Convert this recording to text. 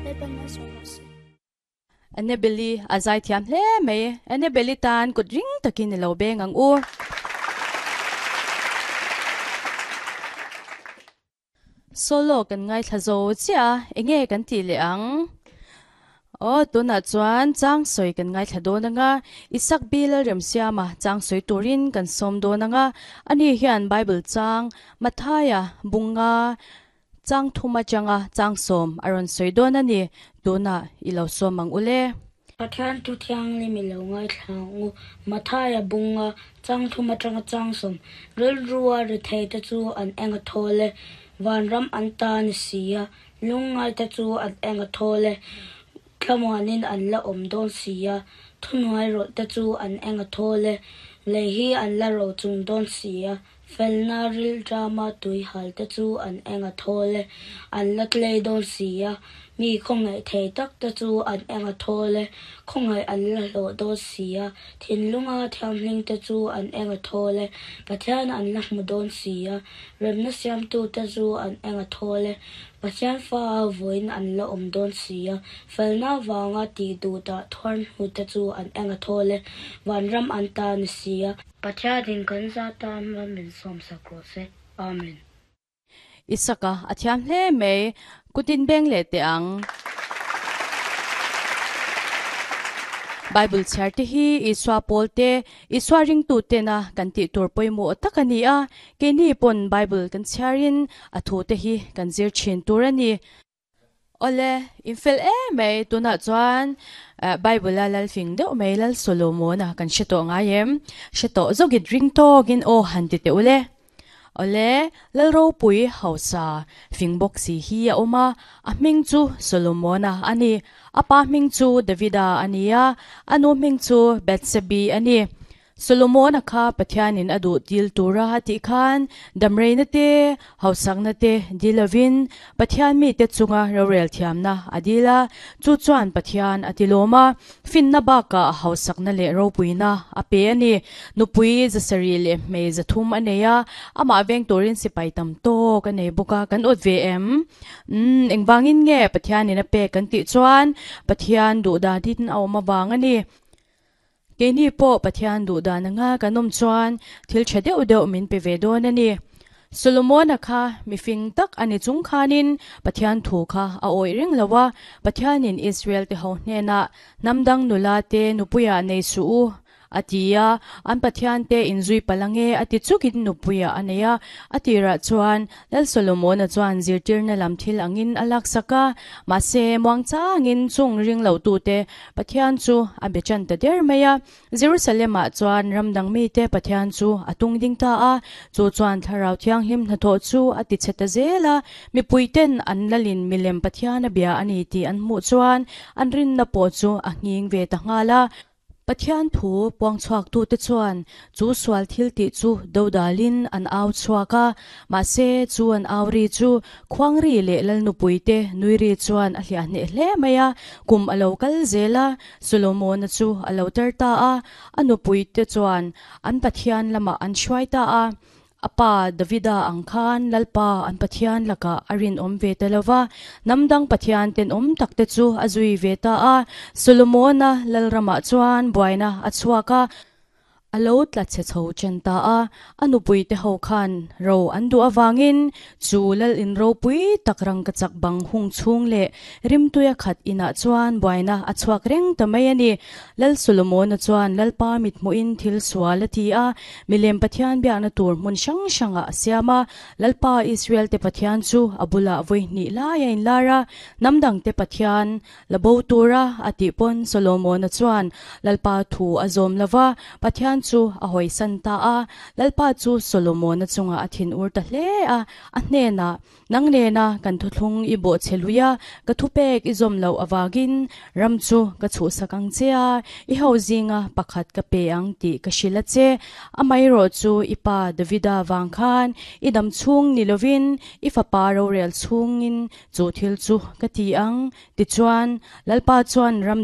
Lalpan malsawm rawh se. Annabelle-i a zaithiam hle mai. Annabelle-i tan kut ring takin i lo beng ang u. Solo kan ngaithla zo chiah a, enge kan tih leh ang? Aw, tunah chuan chang sawi kan ngaithla dawn ang a, Isak bi Lalremsiama chang sawi turin kan sawm dawn ang a, ani hian Bible chang Mathaia bunga chang thum atanga chang sawm a rawn sawi dawn a ni, tunah i lo sawm ang ule. Pathian thu thianghlim i lo ngaithla ang u. Mathaia bunga chang thum atanga chang sawm rilrua ritheite chu an eng a thawl e, vanram an ta ni si a, lungngaite chu an eng a thawl e, thlamuanin an la awm dawn si a, thuhnuai rawlhte chu an eng a thawl e, lei hi an la ro chung dawn si a, felna rilṭama tui halte chu an eng a thawl e, an la tlei dawn si a, mi khawngaih thei tak te chu an eng a thawl e, khawngaih an la hlawh dawn si a, thinlunga thianghlim te chu an eng a thawl e, Pathian an la hmu dawn si a, remna siamtu te chu an eng a thawl e, Pathian fa a vawiin an la awm dawn si a, felna vanga tih duh dah thuar hnu te chu an eng a thawl e, vanram an ta ni si a. Pathianin kan za tan mal min sawmsak rawh se. Amen. Isaka a thiam hle mai, kutin beng leh teh ang. Bible chhiar te hi Isua pawl te, Isua ringtu tena kan tih tur pawimawh tak a ni a, keini pawn Bible kan chhiarin a thu te hi kan zir thin tur a ni. Awle, in fel em mai, tunah chuan Bible a lal fing deuh mai Lal Solomon-a kan hre tawh ngai em? Hre tawh zawkit ring tawkin aw han ti teh ule. Awle, Lal ropui hausa fing bawk si hi a awm a, a hming chu Solomon-a a ni. A pa hming chu Davida a ni a, a nu hming chu Bathsebi a ni. Solomon-a kha Pathianin a duh dil tura a tih khan damreina te, hausakna te dil lovin Pathian mite chunga rorel thiamna a dil a, chu chuan Pathian a tilawm a, finna bakah hausakna leh ropuina a pe a ni. Nupui zasarih leh hmei zathum a nei a, amah veng turin sipai tam tawk a nei bawk a, kan awt ve em? Umm, engvangin nge Pathianin a pek kan tih chuan Pathian duh danin a awm avang a ni. Keini pawh Pathian duh dan anga kan awm chuan thil tha deuh deuh min pe ve dawn a ni. Solomona kha mifing tak a ni chung khanin Pathian thu kha a awih reng lo a, Pathianin Israel te ho hnenah hnam dang nula te nupuiah nei suh u a ti a, an Pathian te inzui palh ange a ti chukin nupuiah a nei a, a tirah chuan Lal Solomona chuan zirtirna lam thil angin a laksak a, mahse muangchangin chung ring lotute Pathian chu a be tan ta der mai a. Jerusalem-ah chuan ram dang mite Pathian chu a tung ding ta a, chu chuan Thlarau Thianghlim hnathawh chu a ti chhe ta zel a. Mipuiten an lalin milem Pathian a bia a ni tih an hmuh chuan an rinna pawh chu a nghing ve ta nghal a. Pathian thu puangchhuaktute chuan chu sual thil tih chu dodalin an au chhuak a, mahse chu an au ri chu khuangri leh lalnupuite nui ri chuan a hliah hneh hle mai a. Kum a lo kal zel a, Solomona chu a lo tar ta a, a nupuite chuan an Pathian lamah an hruai ta a. A pa Davida ang khan Lalpa an Pathian lakah a rinawm ve ta lo va, hnam dang Pathian tenawm takte chu a zui ve ta a. Solomona lalramah chuan buaina a chhuak a, a lo tla chhe chho chen ta a. A nupuite ho khan ro an duh avangin chu lal in ropui tak rangkachak bang hung chhung leh rimtuia khat inah chuan buaina a chhuak reng ta mai a ni. Lal Solomona chuan Lalpa mithmuhin thil sual a ti a, milem Pathian biakna tur hmun hrang hrangah a siam a. Lalpa Israelte Pathian chu a bulah vawi hnih lai a inlar a, hnam dangte Pathian la bo tura a tih pawn Solomona chuan Lalpa thu a zawm lo va, Pathian chu a hawisan ta a. Lalpa chu Solomona chungah a thinur ta hle a, a hnenah, Nang nena kan thuthlung i bawh che lui a, ka thupek i zawm loh avangin ram chu ka chhuhsak ang che a, i ho zinga pakhat ka pe ang tih ka hrilh a che. Amaherawh chu i pa Davida vang khan i dam chhung ni lovin i fapa rorel chhungin chu thil chu ka ti ang. Tichuan, Lalpa chuan ram.